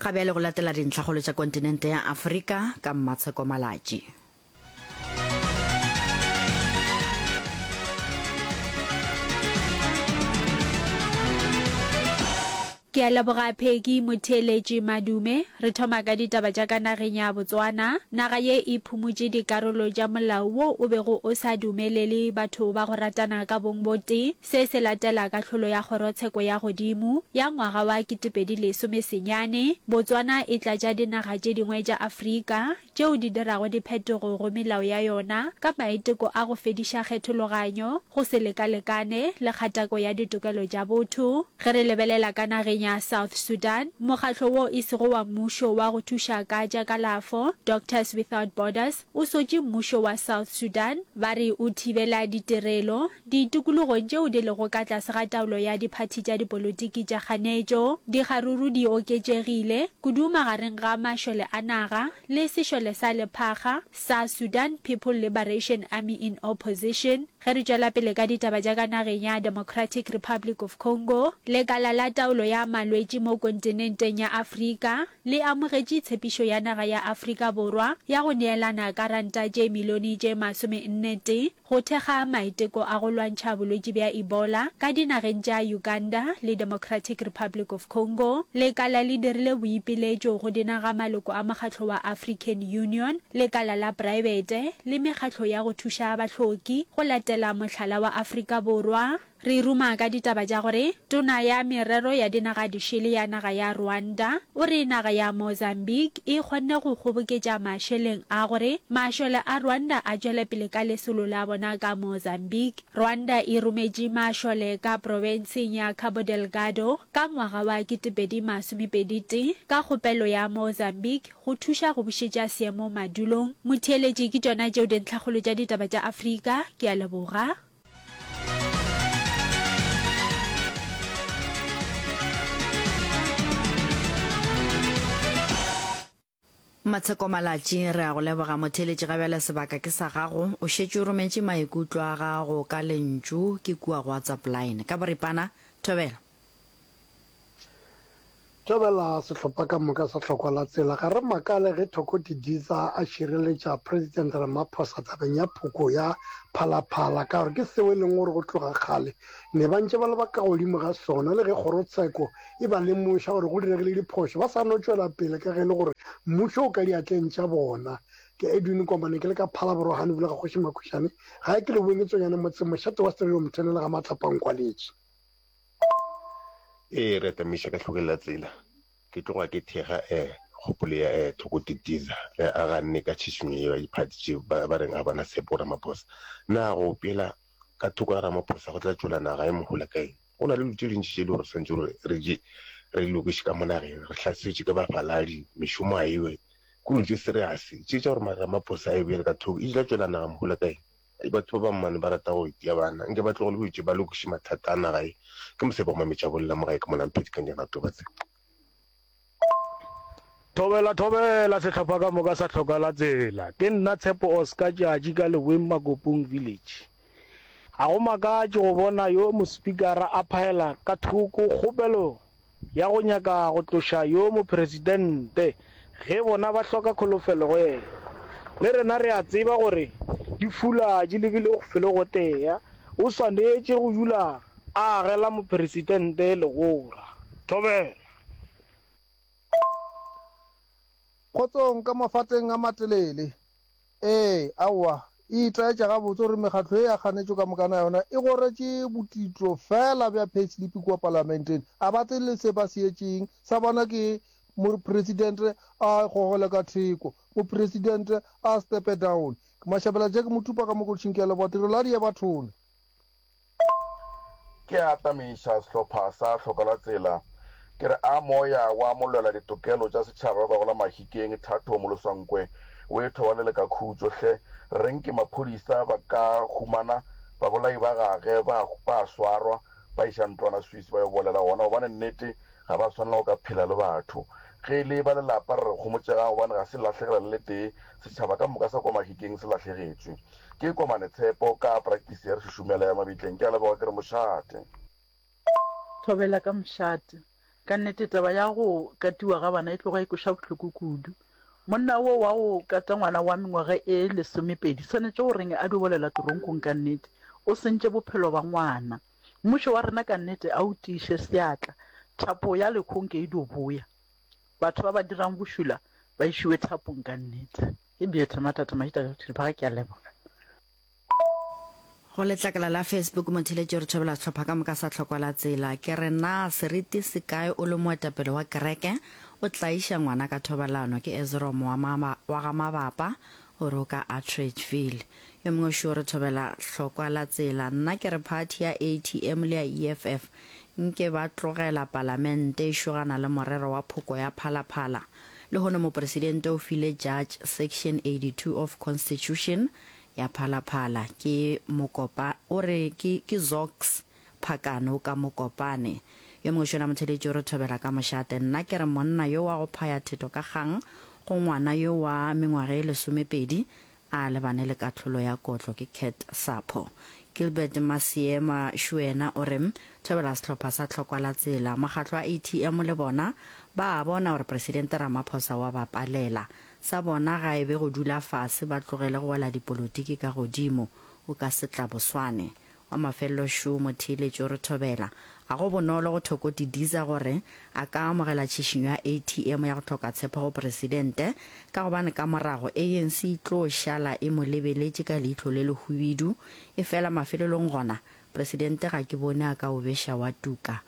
Ga bjale go latela dintlhakgolo tša kontinente ya Afrika ka Mmatsheko Malatji. Ke a leboga Peggy Motheeletši Madume. Re thoma ka ditaba tša ka nageng ya Botswana. Naga ye e phumotše dikarolo tša molao wo o bego o sa dumelele batho ba go ratana ka bong bo tee. Se se latela kahlolo ya Kgorotsheko ya Godimo ya ngwaga wa 2019. Botswana e tlatša dinaga tše dingwe tša Afrika tšeo di dirago diphetogo go melao ya yona ka maiteko a go fediša kgethologanyo, go se lekalekane le kgatako ya ditokelo tša botho. Ge re lebelela ka nageng ya South Sudan, mokgatlo wo e sego wa mmušo wa go thuša ka tša kalafo, Doctors Without Borders, o sotše mmušo wa South Sudan ba re o thibela ditirelo Ditikologong tšeo di lego ka tlase ga taolo ya diphathi tša dipolotiki tša kganetšo, dikgaruru di oketšegile, kudu magareng ga mašole a naga le sešole sa lephakga sa Sudan People Liberation Army in Opposition. Ge re tšwela pele ka ditaba tša ka nageng ya Democratic Republic of Congo, lekala la taolo ya malwetši mo kontinenteng ya Afrika le amogetše tshepišo ya naga ya Afrika Borwa ya go neelana ka ranta tše milione tše masomennetee Go thekga maiteko a go lwantšha bolwetši bja Ebola ka dinageng tša Uganda le Democratic Republic of Congo, lekala le dirile boipiletšo go dinaga maloko a mokgatlo wa African Union, lekala la praebete le mekgatlo ya go thuša bahloki go latela mohlala wa Afrika Borwa. Re ruma ka ditaba tša gore Tona ya Merero ya Dinaga Dišele ya naga ya Rwanda o re naga ya Mozambique e kgonne go kgoboketša mašeleng a gore mašole a Rwanda a tšwele pele ka lesolo la bona ka Mozambique. Rwanda e rometše mašole ka profenseng ya Cabo Delgado ka ngwaga wa 2021 ka kgopelo ya Mozambique go thuša go bušetša seemo madulong. Motheeletši ke tšona tšeo dintlhakgolo tša ditaba tša Afrika. Ke a leboga. Matsheko Malatši, re a go leboga motheeletši ga bjale sebaka ke sa gago. O šetše o rometše maikutlo a gago ka lentšu ke kua go WhatsApp line. Ka boripana, thobela. Thobela sehlopha ka moka sa Hlokwa la Tsela. Ga re makale ge Thoko Didiza a šireletša President Ramaphosa tabeng ya phoko ya Phalaphala ka gore ke seo e leng gore go tloga kgale ne ba ntše ba le ba ka godimo ga sona le ge kgorotsheko e ba lemoša gore go diregile diphošo ba sa no tšwela pele ka ge e le gore mmušo o ka diatleng tša bona. Ke Edwin Komane ke le ka Phalaborwa Hanebula ga Kgoši Makhušane gae ke Leboeng ke Tsonyane motseng mošate wa Stereo Mthenele ga Matlapa Nkwaletše. Ee, re tamiša ka hlokeng la tsela. Ke tloga ke thekga eh kgopolo ya eh Thoko Didiza ge a ganne ka tšhišinyo yeo ya diphathi tše ba ba reng ga ba na tshepo go Ramaphosa. Na go opela ka thoko ga Ramaphosa go tla tšwela naga ye mohola ka eng? Go na le dilo tše dintši tše e le gore re swanetše gore re di re di lokiše ka mo nageng. Re hlasetšwe ke bafaladi, mešomo ga ewe. Ke dilo tše serious tše tša gore Ramaphosa a e beele ka thoko e tla tšwela naga mohola ka eng? Batho ba bang mane ba rata go itia bana. Nke ba tlogele go itše ba lokiše mathata a naga ye. Ke mosebe go mametša bolla mo gae ke mona Mpheti ka Njana Toba tse. Thobela thobela sehlopha ka moka sa hloka la tsela. Ke nna Tshepo Oscar Tšatši ka Leboeng Makopong Village. Ga go makatše go bona yo mospikara a phaela ka thoko kgopelo ya go nyaka go tloša yo mopresidente ge bona ba hloka kholofelo go yena. Le rena re a tseba gore di fula di lebile felo gotea, o swanetše go dula a agela mopresidente legora. Thobela. Kgotsong ka mafateng a matelele. Ee, aowa, e itaetša gabotse gore mekgatlo ye ya kganetšo ka mokana yona e goretše botitlo feela bja payslip kua palamenteng. A ba tsebe le se ba se etšeng. Sa bona ke mopresidente a gogele ka theko, mopresidente a stepe down. Ke Mashabela Jack Motupa ka Mokolotšhing ke a leboga tirelo ya Diabathone. Ke a atamiša sehlopha sa Hlokalatsela, ke re a moya wa molwela ditokelo tša setšhaba ba gola Mahikeng, Thato Moloswankwe, o e thobalele ka khutšo hle. Re reng ke maphodisa ba ka humana babolai ba gage ba ba swarwa ba iša ntlwana Swiss ba yo bolela gona gobane nnete ga ba swanela go ka phela le batho. Ge e le ba lelapa re re homotšegang gobane ga se lahlegela le letee, setšhaba ka moka sa kwa Mahikeng se lahlegetšwe. Ke Komane Tshepo ka practice ya re šušumela ya mabitleng. Ke a leboga ke re mošate. Thobela ka mošate. Ka nnete taba ya go katiwa ga bana e tloga e kweša bohloko kudu. Monna wo wa go kata ngwana wa mengwaga e lesomepedi swanetše go reng a dio bolela toronkong ka nnete. O sentše bophelo ba ngwana. Mmušo wa rena ka nnete a o tiiše seatla. Thapo ya lekhong ke e dio boya. Batho ba ba dirang bošula ba išiwe thapong ka nnete. Ke Beatty Matata Mahita ka Thuluphaga ke a leboga. Go letlakala la Facebook motheletši o re thobela sehlopha ka moka sa Tlhokwa la Tsela. Ke re na seriti se kae o le moetapele wa kereke o tlaiša ngwana ka thobalano? Ke Ezrom wa wa ga Mabapa o re o ka Atteridgeville. Yo mongwe šo o re thobela Hlokwa la Tsela. Nna ke re party ya ATM le ya EFF nke ba tlogela palamente e šogana le morero wa phoko ya Phalaphala. Lehono mopresidente o file judge section 82 of constitution ya Phalaphala ke Mokopa o re ke ke Zox Phakane o ka Mokopane. Yo mongwe šona motheletši o re thobela ka mošate. Nna ke re monna yo wa go phaya theto ka kgang go ngwana yo wa mengwaga e lesomepedi a lebane le kahlolo ya kotlo ke Cat Sapho. Gilbert Masiema Shuena o re thobela sehlopha sa Tlhokwa la Tsela. Mokgatlo wa ATM le bona ba a bona gore Presidente Ramaphosa wa ba palela. Sa bona ga e be go dula fase ba tlogele go wela dipolotiki ka godimo. O ka se tlaboswane. Wa mafelelo šo motheeletši o re thobela. Ga go bonolo go Thoko Didiza gore a ka amogela tšhišinyo ya ATM ya go hloka tshepo go Presidente ka gobane ka morago ANC e tlo šala e mo lebeletše ka leihlo le lehubidu. Efela mafelelong gona Presidente ga ke bone a ka o beša wa tuka.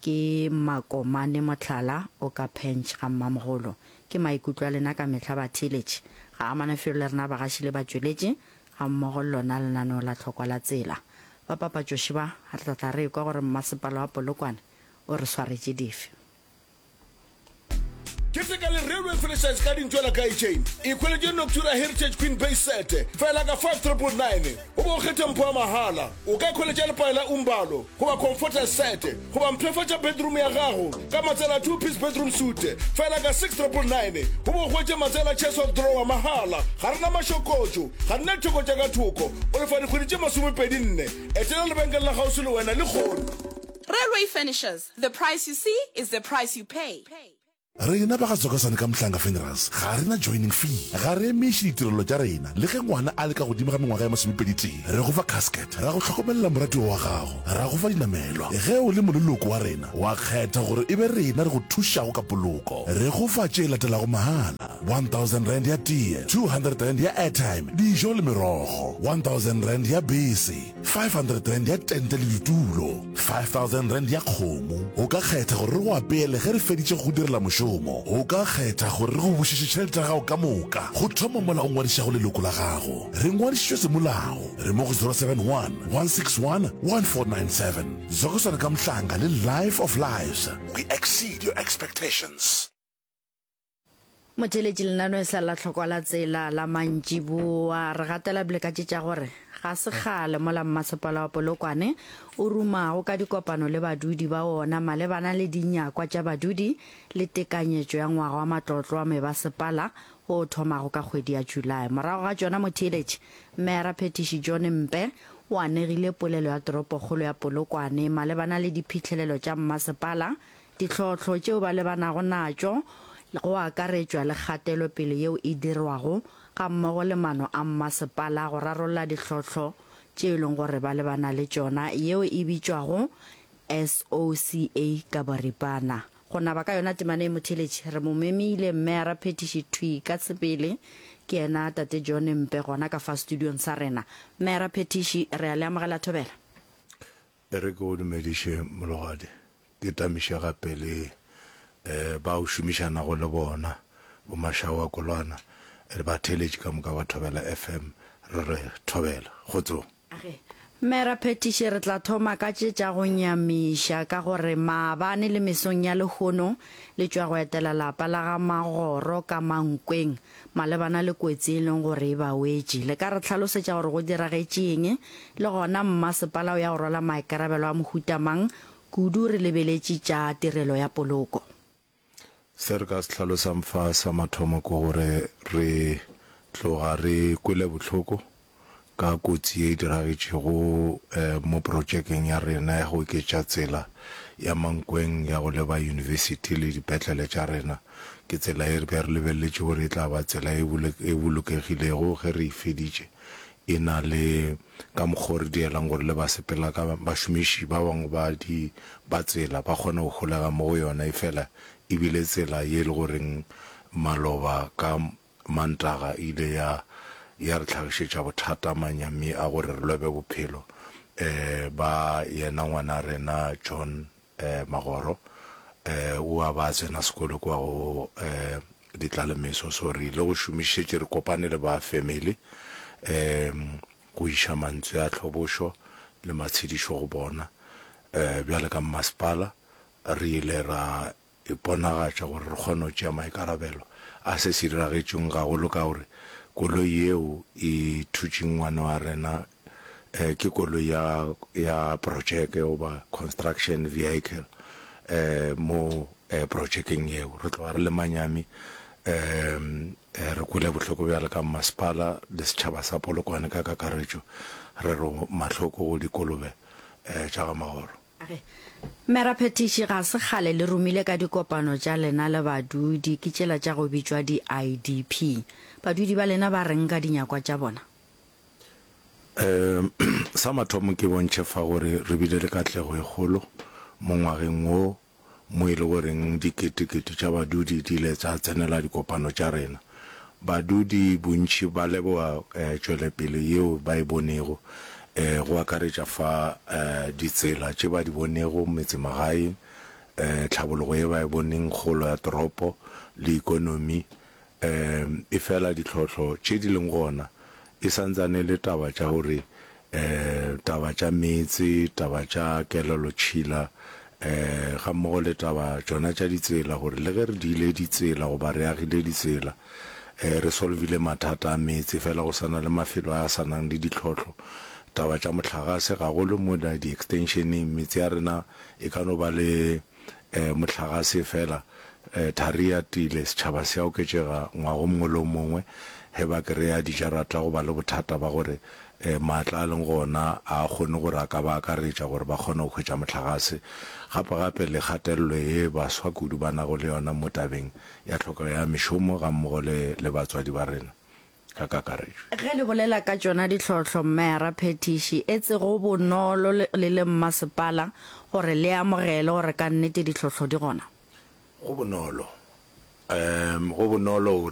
Ke makomane mohlala o ka phench ga mmamogolo. Ke maikutlo a lena ka mehla batheeletši. Ga amane felo le rena bagaši le batšweletši gammogo le lona lenaneo la tlhokwa la tsela. Ba papatšoši ba, re tla tla re ekwa gore mmasepala wa Polokwane o re swaretše dife. Keteka le Railway Furnishers ka dintšwela ka chain. Ikhweletše Noctura Heritage Queen Base Set fela ka 5999 goba o kgethe mpho ya mahala. O ka ikhweletša lepae la Umbalo goba Comforter Set goba mpshafatša bedroom ya gago ka matsela a two piece bedroom suite fela ka 6999 goba o hwetše matsela a chest of drawer mahala. Ga re na mašokotšo, ga re na ditheko tša ka thoko. O lefa dikgwedi tše masomepedi nne. Etela lebenkele la kgauswi le wena lehono. Railway Furnishers, the price you see is the price you pay. Rena ba ga Tsokasane ka Mhlanga Funerals ga re na joining fee. Ga re emiše ditirelo tša rena le ge ngwana a le ka godimo ga mengwaga ya masomepeditee. Re go fa casket, ra go hlokomelela moratiwa wa gago, ra go fa dinamelwa. Ge o le moleloko wa rena, wa kgetha gore e be rena re go thušago ka poloko. Re go fa tše latelago mahala, R1000 ya tee, R200 ya airtime, dijo le merogo, R1000 ya bese, R500 ya tente le ditulo, R5000 ya kgomo. O ka kgetha gore re go apeele ge re feditše go go direla mošomo. O ka kgetha gore re go bušetše tšhelete ya gago ka moka go thoma mola o ngwadišago leloko la gago. Re ngwadišitšwe semolao. Re mo go 071 161 1497. Zokosana ka Mhlanga le Life of Lives. We exceed your expectations. Motheeletši lenaneo e sa la tlhokwa la tsela la mantšiboa. Re gatela pele ka tše tša gore ga se kgale mola mmasepala wa Polokwane o rumago ka dikopano le badudi ba wona malebana le dinyakwa tša badudi le tekanyetšo ya ngwaga wa matlotlo wa mebasepala wo o thomago ka kgwedi ya July. Morago ga tšona motheeletši, Meyara Phethiši John Mpe o anegile polelo ya toropokgolo ya Polokwane malebana le diphihlelelo tša mmasepala Ditlhohlo tšeo ba lebanago natšo, go akaretšwa le kgatelopele yeo e dirwago gammogo le maano a mmasepala go rarolla ditlhohlo tše e leng gore ba lebana le tšona, yeo e bitšwago SOCA ka boripana. Go naba ka yona temana ye motheeletši, re mo memile Meyara Phethiši thwi ka sebele, ke yena Tate John Mpe gona ka fa studiong sa rena. Meyara Phethiši, re a le amogela Thobela. E re ke go dumediše Mologadi, ke tamiše gape le ba o šomišanago le bona, bo Mashawa Kolwana le batheeletši ka moka ba Thobela FM, re re thobela. Kgotsong. Age. Mera Phetiši, re tla thoma ka tše tša go nyamiša ka gore maabane le mesong ya lehono le tšwa go etela lapa la ga Magoro ka Mankweng malebana le kotsi e leng gore e ba wetše. Le ka re hlalosetša gore go diragetše eng le gona mmasepala o ya go rwala maikarabelo a mohuta mang kudu re lebeletše tša tirelo ya poloko? Se re ka se hlalosang fa sa mathomo ke gore re tloga re kwele bohloko. ka kotsi ye e diragetšego mo protšekeng ya rena ya go oketša tsela ya Mankweng ya go leba yunibesithi le dipetlele tša rena. Ke tsela ye re be re lebeleletše gore e tla ba tsela e e bolokegilego ge re e feditše, e na le ka mokgwa o re dielang gore le basepela ka bašomiši ba bangwe ba di ba tsela ba kgone go holega mo go yona, efela e bile tsela ye e le goreng maloba ka Mantaga e ile ya ya re hlagišetša bothata manyami a gore re lobe bophelo um ba yena ngwana rena John um Magoro um o a ba a tsena sekolo kwa go um Ditlalemeso so re ile go šomišetše re kopane le ba family um go iša mantswe a tlhobošo le matshedišo go bona um bjale ka mmasepala re ile ra iponagatša gore re kgone go tšea maikarabelo a se se diragetšeng gagolo ka gore koloi yeo e thutšeng ngwana wa rena ke koloi ya ya projeke goba construction vehicle mo projekeng yeo. Re tloga re le manyami re kwele bohloko bjalo ka mmasepala le setšhaba sa Polokwane ka kakaretšo re re mahloko go dikolobe tša ga Magoro. A re, Meraphethiši ga se kgale le romile ka dikopano tša lena le badudi, ke tšela tša go bitšwa di-IDP. Badudi ba lena ba reng ka dinyakwa tša bona? Um Sa mathomo ke bontšhe fa gore re bile le katlego e kgolo mo ngwageng wo mo e le goreng diketekete tša badudi di ile tša tsenela dikopano tša rena. Badudi bontši ba leboga tšwelepele yeo ba e bonego, go akaretša fa ditsela tše ba di bonego metsemagaeng, tlhabologo ye ba e boneng, kgolo ya toropo le ikonomi. Efela ditlhohlo tše di leng gona e sa ntsane e le taba tša gore taba tša meetse, taba tša kelelotšhila gammogo le taba tšona tša ditsela gore le ge re diile ditsela goba re agile ditsela re solvile mathata a meetse fela go sa na le mafelo a sa nang le ditlhohlo. Taba tša mohlagase gagolo mola di-extensioneng metse ya rena e ka no ba le Mohlagase fela, thari e atile, setšhaba se a oketšega ngwaga o mongwe le o mongwe ge ba kereya dijarata go ba le bothata ba gore maatla a leng gona a a kgone gore a ka ba akaretša gore ba kgone go hwetša mohlagase. Gape-gape le kgatelelo ye baswa kudu ba nago le yona mo tabeng ya tlhokego ya mešomo gammogo le le batswadi ba rena. ka kakaretšo. Ge le bolela ka tšona ditlhohlo, Mmeara Phethiši, etse go bonolo le le mmasepala gore le amogele gore ka nnete ditlhohlo di gona? Go bonolo. Um, go bonolo gore.